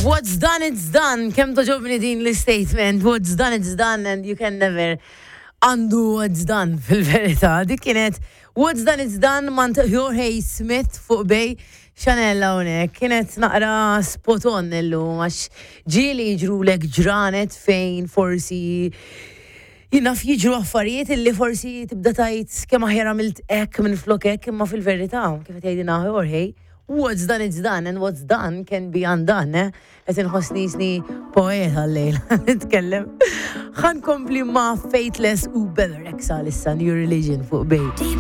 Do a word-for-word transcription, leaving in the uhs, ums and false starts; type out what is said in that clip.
What's done, it's done. Kemm togħġobni din l-statement. What's done, it's done and you can never undo what's done fil-verità. Dik kienet What's Done, It's Done mingħand Jorge Smith fuq Bay Chanel hawnhekk. Kienet naqra spot on illum għax ġieli jiġrulek ġranet fejn forsi jien naf jiġru affarijiet illi forsi tibda tgħid kemm aħjar għamilt hekk minn flok hekk imma fil-verità kif qed jgħidilna Jorge what's done it's done and what's done can be undone, eh? Qed inħossni qisni poeta llejla nitkellem. Ħa nkompli ma' Faithless u Bebe Rexha issa New Religion fuq Bay. Deep